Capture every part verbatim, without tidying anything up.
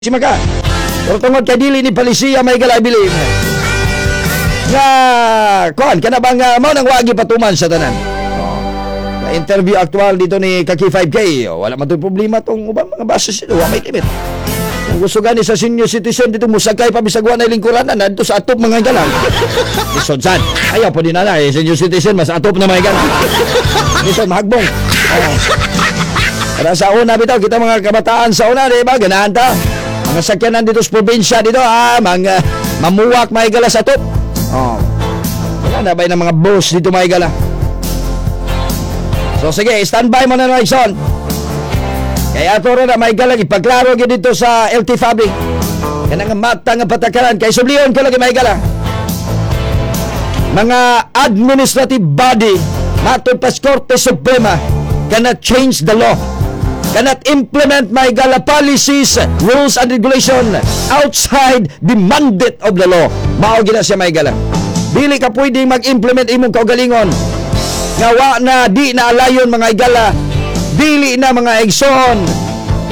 Si Maka. Pero tungod kay dili ni palisiya may gala, I believe. Nga kuan kana bang uh, mao nang wagi patuman sa tanan. Oh. Na interview aktual dito ni Kaki five K. Oh, wala man to'y problema tong ubang mga buses dito, wa may limit. Kung gusto gani sa senior citizen dito musakay pa bisag wa na lingkuran na nadto sa atop, mga higala. Lisod sad. Ayaw po din na eh, senior citizen mas atop na, mga higala. Lisod mahagbong. Oh. Para sa una bitaw kita mga kabataan sa una, di ba? Ganahan ta. Mga sakyanan dito sa probinsya dito, ah, mga mamuwak, mga higala, sa atop. Oh. Wala na ba ng mga bus dito, mga higala? So sige, standby mo na, Nixon. Kaya ato na may higala, ipaglaro gyud dito sa L T F A B. Kanang nga mata nga patakaran kay subliyon ko lagi, mga higala. Mga administrative body matod pa sa Korte Suprema cannot change the law, cannot implement, mga higala, policies, rules and regulation outside the mandate of the law. Mao gina siya, mga higala. Dili ka pwede mag-implement imong kaugalingon nga wa na di na alayon, mga higala, dili na, mga igsoon,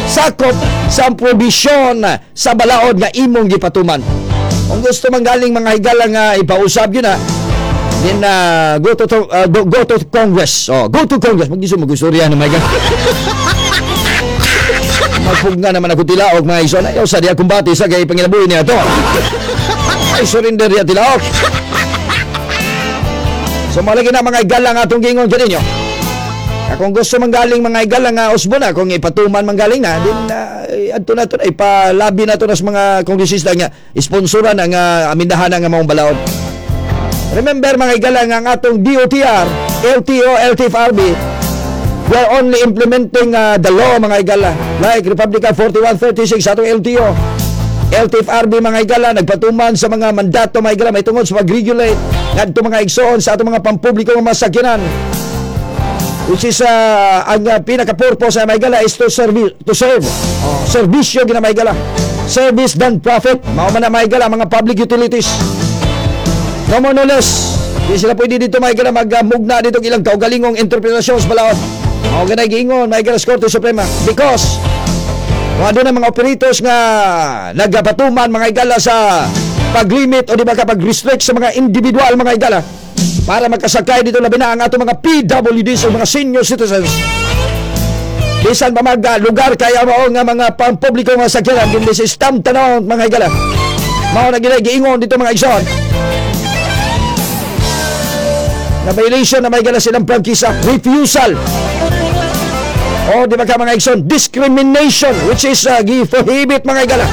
sakop sa probisyon sa balaod nga imong gipatuman. Kung gusto man galing, mga higala, nga ipausab yun na, then uh, go to, to uh, go, go to Congress. Oh, go to Congress. Mag magusurya na mga higala. Magpugna naman ako tilaok, mga igsoon. Ayaw sa diya kumbati sa kay panginabuhi niya to. Ay surrender diya tilaok. So malagi na, mga higala, nga atong gingon kaninyo. Kung gusto manggaling, mga higala, nga usbo na, kung ipatuman manggaling na, din uh, adto na to, ipalabi na to na sa mga kongresista nga sponsoran ang uh, amindahan nga maong balaod. Remember, mga higala, nga ang atong D O T R, L T O, L T F R B, we are only implementing uh, the law, mga higala. Like Republic Act forty-one thirty-six sa atong L T O. L T F R B, mga higala, nagpatuman sa mga mandato, mga higala, may tungod sa pag-regulate ngadto, mga igsoon, sa atong mga pampubliko nga mga sakyanan, which is uh, ang uh, pinaka-purpose sa mga higala is to serve to serve oh, serbisyo gina, mga higala, service than profit. Mao man na, mga higala, mga public utilities, no more no less. Di sila pwede dito, mga higala, magmugna dito ilang kaugalingong interpretasyon sa balaod. Mao ganay giingon, mga higala, sa Korte Suprema because kung ano na mga operators nga nagapatuman, mga higala, sa paglimit o di ba ka pag-restrict sa mga individual, mga higala, para makasakay dito, labi na ang atong mga P W Ds o mga senior citizens, bisan pa mag uh, lugar kaya mao nga mga pampubliko nga sakyanan, kundi si stamp tanaw, mga higala. Mao na ginay giingon dito, mga igsoon, na violation na, mga higala, silang prangkisa, refusal o di ba ka, mga igsoon, discrimination, which is uh, gi-prohibit, mga higala,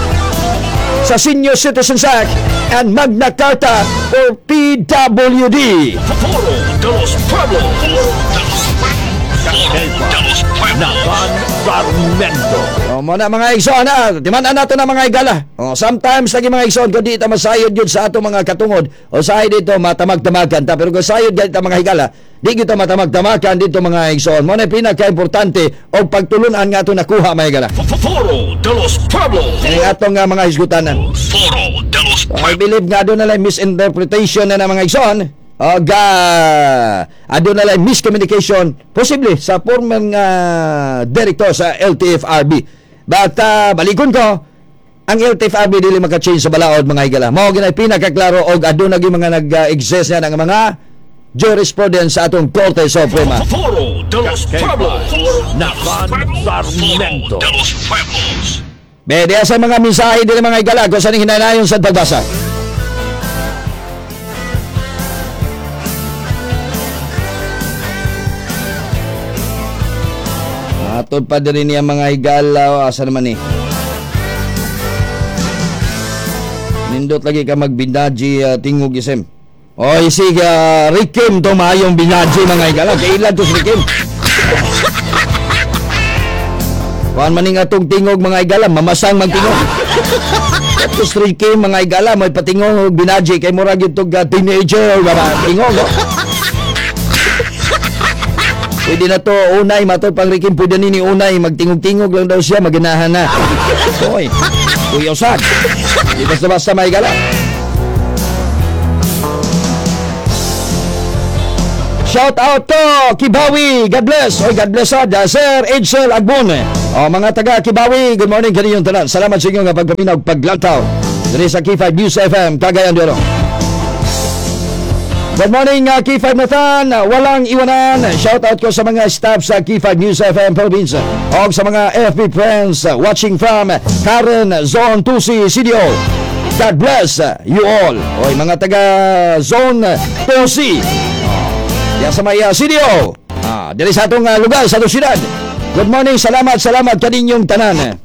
sa Senior Citizens Act and Magna Carta for P W D. Foro de los Pueblos. Foro de los Foro de los Pueblos. Nakan Sarmento. O, mo na, mga igsoon na, timan nato na, mga higala. O, sometimes lagi, mga igsoon, kung di ta masayod yun sa ato mga katungod, o sayod dito matamag-tamagan ta, pero kung sayod ganito mga higala, di kita matamag-tamagan dito, mga igsoon. Mo na pinaka-importante o pagtulunan nga ato nakuha, mga higala. Foro de los Pueblos. Ang atong nga mga hisgutanan. Foro de los So, I Pueblos. believe nga doon na lang misinterpretation na ng mga igsoon. O ga aduna lang miscommunication posible sa former nga director sa L T F R B. But uh, balikon ko, ang L T F R B dili maka-change sa balaod, mga higala. Mao ginay pinakaklaro og aduna gyud mga nag-exist na ng mga jurisprudence sa atong Korte Suprema. Foro de los Pueblos. Nakan Sarmento. Foro de los Pueblos. Be, diya sa mga mensahe dili, mga higala, kung saan hinanayon sa pagbasa. Matod pa din niya, mga higala, asa naman ni. Nindot lagi ka magbinaji uh, tingog isim. Oy, sige, uh, Rikim to maayong binaji, mga higala. Kailan to si Rikim? Kuan maning atong tingog, mga higala, mamasang magtingog. Tapos Rikim, mga higala, may patingog og binaji kay murag gyud tog uh, teenager ba tingog. Oh. Pwede na to unay matod pang Rikim, pwede ni ni unay magtingog-tingog lang daw siya, maganahan na. Oy. Kuya usad. Di basta-basta, mga higala. Shout out to Kibawi. God bless. Oy, God bless sad. Uh, Sir Edsel Agbon. Oh, mga taga Kibawi, good morning kaninyong tanan. Salamat sa inyong pagpaminaw, paglantaw diri sa K five News F M Cagayan de Oro. Good morning, uh, K five Nathan. Walang iwanan. Shout out ko sa mga staff sa K five News F M Philippines o sa mga F B friends uh, watching from Karen Zone two C C D O. God bless uh, you all. Oy, mga taga Zone two C. Oh, diyan sa may uh, C D O. Ah, diri sa atong uh, lugar, sa atong syudad. Good morning, salamat, salamat kaninyong tanan.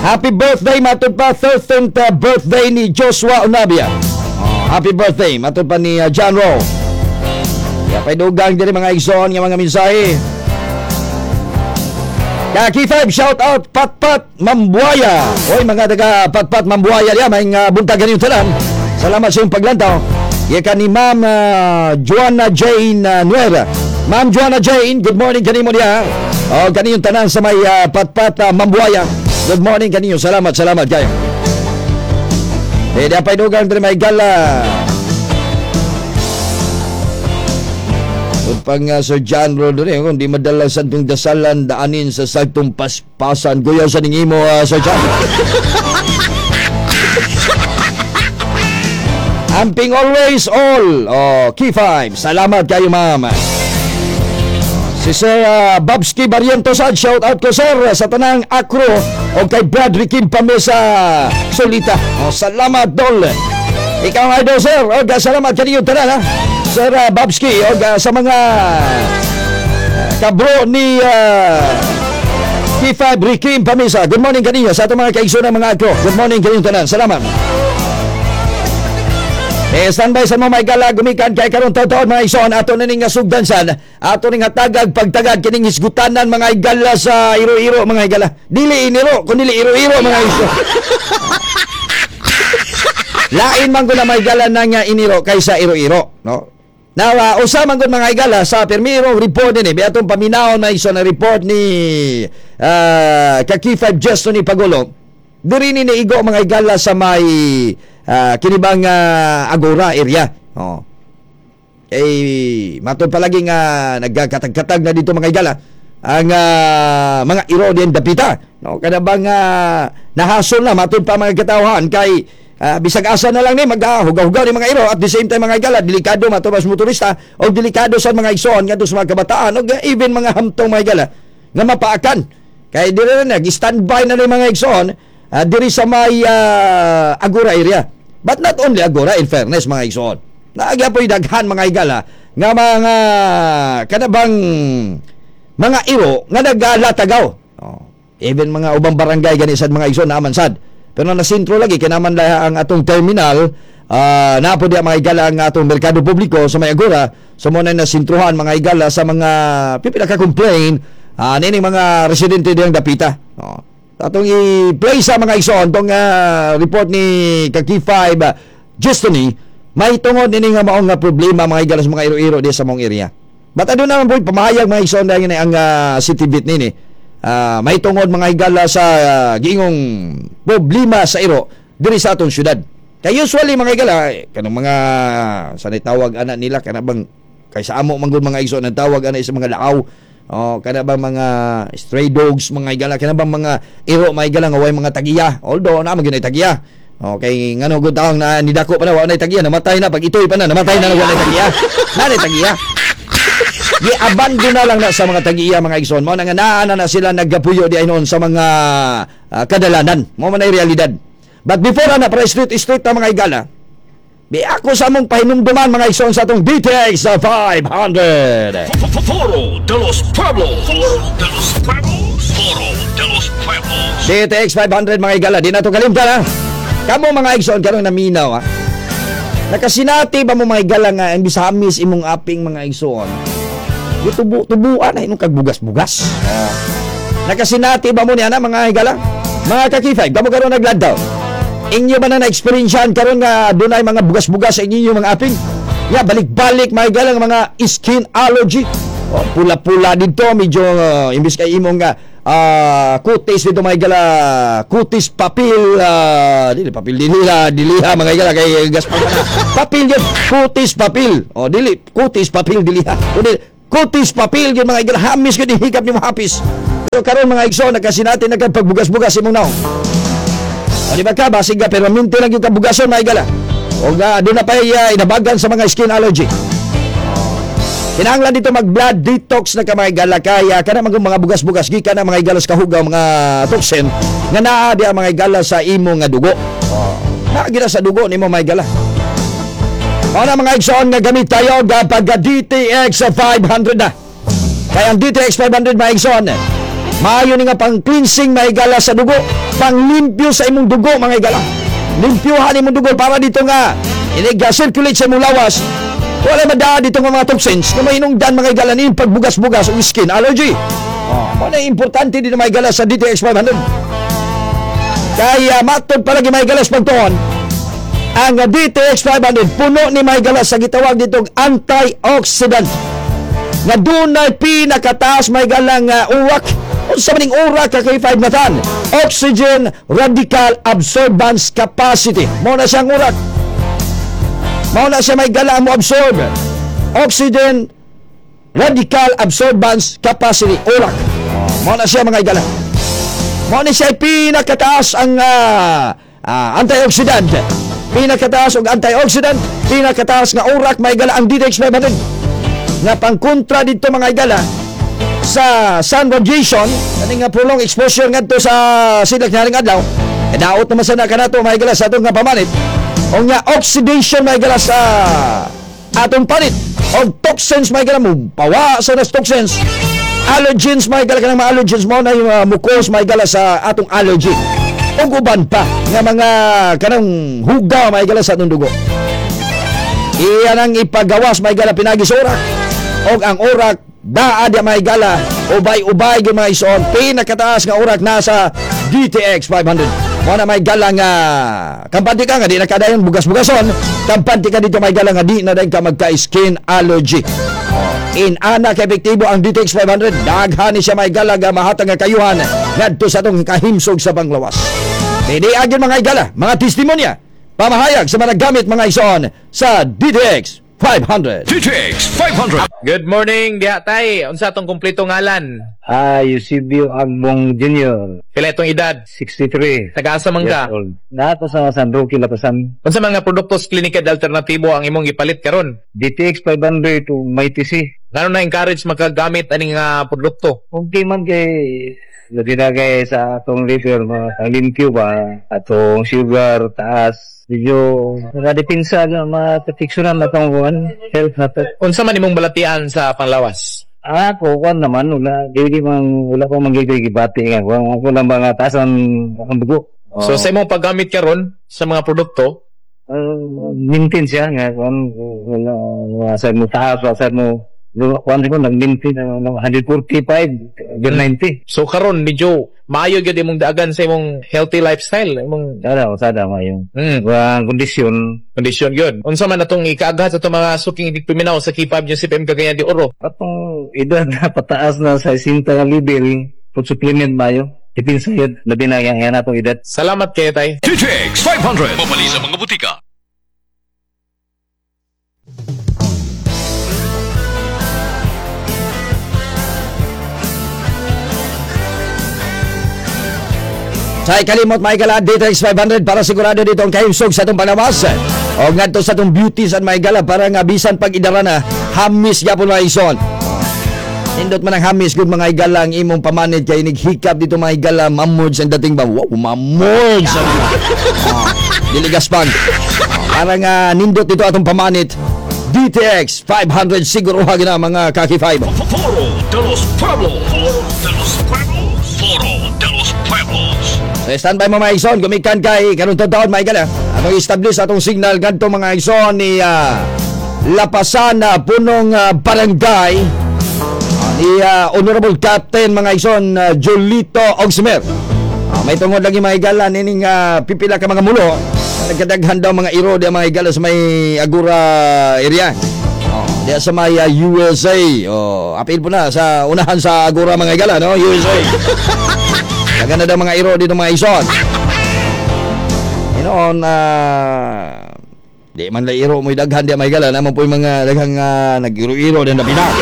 Happy birthday, matod pa thirteenth uh, birthday ni Joshua Onabia. Oh, happy birthday matod pa ni uh, John Rowe. Ya pay dugang diri, mga igsoon, nga mga mensahe. Ka K five, shout out Patpat Mambuaya. Oy, mga taga Patpat Mambuaya diya, may uh, buntag kaninyong tanan. Salamat sa iyong paglantaw. Iya ni Ma'am uh, Joanna Jane uh, Nuera. Ma'am Joanna Jane, good morning kanimo diya. O kaniyong tanan sa may uh, Patpat uh, Mambuaya. Good morning kaninyo. Salamat, salamat kayo. Eh, di pay dugang diri, may gala. Upang uh, Sir John Rodo rin, kung di madala sa itong dasalan, daanin sa sagtong paspasan. Guyaw sa ningimo, uh, Sir John. Amping always all. Oh, K five. Salamat kayo, ma'am. Si Sir uh, Babski Barrientos, sad, shout out ko, sir, sa tanang akro o kay Brad Ricky Pamesa Solita. Oh, salamat, dol. Ikaw ang idol, sir. O, salamat kaniyong tanan, ha. Sir uh, Babski o sa mga uh, kabro ni uh, K five Ricky Pamesa. Good morning kaninyo sa atong mga kaigsoon ng mga akro. Good morning kaninyong tanan. Salamat. Eh, standby sa mo may gala gumikan kay karon taon mga igsoon, ato na ning sugdansan, ato ning hatagag pagtagad kining hisgutanan, mga igala, sa iro-iro, mga igala. Dili iniro kundi iro-iro, mga igsoon. Lain man gud na may gala nang uh, iniro kaysa iro-iro, no? Now, uh, usa man gud, mga igala, sa pirmirong report ni atong paminawon, mga igsoon, na report ni uh, ka K five Gesto ni Pagolo. Diri ni niigo, mga igala, sa may uh, kinibang uh, Agora area. Oh. Eh, matod palagi nga nagkatag-katag na dito, mga igala, ang uh, mga iro din dapita. No, kada bang uh, nahasol na matod pa mga katawhan kay uh, bisag asa na lang ni maghugaw-hugaw ni mga iro. At the same time, mga igala, delikado matod sa motorista o delikado sa mga igsoon ngadto sa mga kabataan o even mga hamtong, mga igala, nga mapaakan. Kay diri na nag-standby na ni mga igsoon uh, diri sa may uh, Agora area. But not only Agora, in fairness, mga igsoon. Naagya po'y daghan, mga igala, nga mga kanabang mga iro nga nagalatagaw. Oh. Even mga ubang barangay gani sad, mga igsoon, naaman sad. Pero na sentro lagi kay naman laha ang atong terminal, uh, naa po diya, mga igala, ang atong merkado publiko sa may Agora. So mo na nasintruhan, mga igala, sa mga pipila ka complain uh, nining mga residente diyang dapita. Oh. Atong i-play sa mga igsoon tong uh, report ni ka K five uh, Justony may tungod ini nga maong nga problema, mga igala, sa mga iro-iro di sa mong area. But ano naman po pamahayag, mga igsoon, dahil ang uh, city beat nini. Uh, may tungod, mga higala, sa uh, giingong problema sa iro diri sa atong syudad. Kay usually, mga higala, eh, kanang mga sanay tawag ana nila, kana bang kay sa amo man gud, mga igsoon, ang tawag ana sa mga laaw. Oh, kana bang mga stray dogs, mga higala, kana bang mga iro, mga higala, nga way mga tagiya. Although naa man gyud tagiya. Okay, ngano gud taong na nidako pa na wa nay tagiya, namatay na pag itoy pa na, namatay na, wa nay tagiya. Na nay tagiya. Gi-abandon na lang na sa mga tagiya, mga igsoon. Mao na nga naa na, na sila naggapuyo di ay noon sa mga uh, kadalanan. Mao man ay realidad. But before na para street street ta, mga igala. Bi ako sa among pahinumduman, mga igsoon, sa atong D T X five hundred. Foro de los Pueblos. Foro de los Pueblos. Foro de los Pueblos. D T X five hundred, mga igala, di na to kalimtan, ha. Kamo, mga igsoon, karon naminaw, ha. Nakasinati ba mo, mga igala, nga imbis hamis imong aping, mga igsoon? Tubo tubuan na inong kagbugas-bugas. Oh. Nakasinati ba mo niya na, mga higala? Mga ka-K five, kamo karon naglantaw. Inyo ba na na-experiensyan karon nga dunay mga bugas-bugas sa inyo mga aping? Ya, balik-balik, mga higala, nga mga skin allergy. Oh, pula-pula dito, medyo uh, imbis kay imong nga uh, kutis dito, mga higala, kutis papil, uh, dili papil diliha, diliha, mga higala, kay gaspang na. Papil yun, kutis papil. Oh, dili kutis papil diliha. Kundi Kutis papel gyud, mga igala, hamis gyud hikap nimo, hapis. Pero karon, mga igsoon, nakasinati na kag pagbugas-bugas imong naong. O di ba ka, basig ka, pero minti lang yung kabugason, mga igala. O nga, doon na pa uh, inabagan sa mga skin allergy. Kinahanglan dito mag blood detox na ka, mga igala, kaya kana mga mga bugas-bugas gikan na, mga igala, sa kahugaw mga toxin nga naa di ang mga igala sa imo nga dugo. Oh. Naa gina sa dugo nimo, mga igala. Mao na, mga igsoon, nga gamit tayo ga pagka D T X five hundred na. Kaya ang D T X five hundred, mga igsoon, maayo ni nga pang cleansing, mga igala, sa dugo, panglimpyo sa imong dugo, mga igala. Limpyuhan imong dugo para dito nga inig circulate sa imong lawas. Wala madaa dito nga mga toxins nga mahinungdan, mga igala, ni pagbugas-bugas o skin allergy. Oh, mao na importante dito, mga igala, sa D T X five hundred. Kaya matod palagi, mga igala, sa pagtuon, ang D T X five hundred puno ni, mga igala, sa gitawag ditong antioxidant nga dunay pinakataas, mga igala, nga uwak. Unsa man ning urak ka K five Nathan? Oxygen radical absorbance capacity. Mao na siyang urak. Mao na siya, mga igala, mo absorb. Oxygen radical absorbance capacity, urak. Mao na siya, mga igala. Mao ni siya pinakataas ang ah, ah, antioxidant. Pinakataas og antioxidant, pinakataas nga urak, mga igala, ang D T X five hundred. Nga pangkontra dito, mga igala, sa sun radiation, kani nga prolonged exposure ngadto sa silak nga adlaw. E daot naman sa kanato, mga igala, sa atong nga pamanit. O nga oxidation, mga igala, sa atong panit og toxins, mga igala, mo pawa sa nas toxins. Allergens, mga igala, kanang mga allergens mo na yung uh, mucus, mga igala, sa atong allergy. Ug uban pa nga mga kanang hugaw, mga igala, sa atong dugo. Iyan ang ipagawas, mga igala, pinagi sa urak. Og ang urak daa di, mga igala, ubay-ubay gyud, mga igsoon, pinakataas nga urak nasa D T X five hundred. Mo na, mga igala, nga kampante ka nga di nakadayon bugas-bugason, kampante ka dito, mga igala, nga di na dayon ka magka-skin allergy. In ana ka epektibo ang D T X five hundred, daghan ni siya, mga igala, nga mahatag nga kayuhan ngadto sa atong kahimsog sa panglawas. Pwede agyon, mga igala, mga testimonya, pamahayag sa mga gamit, mga igsoon, sa D T X five hundred. D T X five hundred. Good morning, diha tay. Unsa atong kumpleto ngalan? Ah, Eusebio Agbong Junior Pila itong edad? sixty-three Taga-asa man ka? Years old. Nato sa San Roque, Lapasan. Unsa mga produkto sa Klinika de Alternatibo ang imong gipalit karon? D T X five hundred to Mighty C. Ngano na encourage makagamit aning nga produkto? Okay man kay labi na kay sa atong liver, mga ang limpyo ba, atong sugar taas, medyo nakadepensa na maproteksyonan na atong kuan, health na to. Unsa man imong balatian sa panglawas? Ah, ako, kuan naman, wala, dili man, wala pa man gigil gibati nga, kuan, ako lang ba nga taas ang, ang dugo. So sa imong paggamit karon sa mga produkto, uh, maintain siya nga kuan, wala, wala sa mo taas, wala sa mo kuan ko nag-maintain uh, one forty-five over ninety. So karon medyo maayo gyud imong daagan sa imong healthy lifestyle, imong Sada, sada mayo. mm, Ang kondisyon. Kondisyon gyud. Unsa man atong ikaaghat sa atong mga suking paminaw sa K five News F M Cagayan de Oro? Atong edad na pataas na sa sesenta nga level, food supplement mayo. Depensa yun, labi na yan, yan atong edad. Salamat kayo, tay. D T X five hundred. Mabali sa mga butika. Sa ikalimot, mga igala, D T X five hundred para sigurado dito ang kahimsog sa atong panawas. O ngadto sa atong beauty sa mga igala para nga bisan pag idara na, hamis gyapon, mga igsoon. Nindot man ang hamis kung, mga igala, ang imong pamanit kay nighikap dito, mga igala, mamod sa dating ba, wow, mamod sa oh, diligas pag para nga nindot dito atong pamanit. D T X five hundred, siguro gina, mga kaki five. Foro de los Pueblos. Foro de los Pueblos. Foro de los Pueblos. So standby mo, mga igsoon, gumikan kay karon taon, mga igala. Atong establish atong signal gadto, mga igsoon, ni ah, Lapasan na punong ah, barangay ah, ni ah, Honorable Captain, mga igsoon, uh, Julito Ogsimer. Ah, may tungod lagi, mga igala, nining ah, pipila ka mga mulo. Nagkadaghan daw mga iro di mga igala sa may Agora area. Oh, diya sa may ah, U S A. Oh, apil po na sa unahan sa Agora, mga igala, no? U S A. Daghan na daw mga iro dito, mga igsoon. Inoon, ah, di man la iro mo'y daghan di mga igala, naman po yung mga daghang uh, nag-iro-iro din na pinak.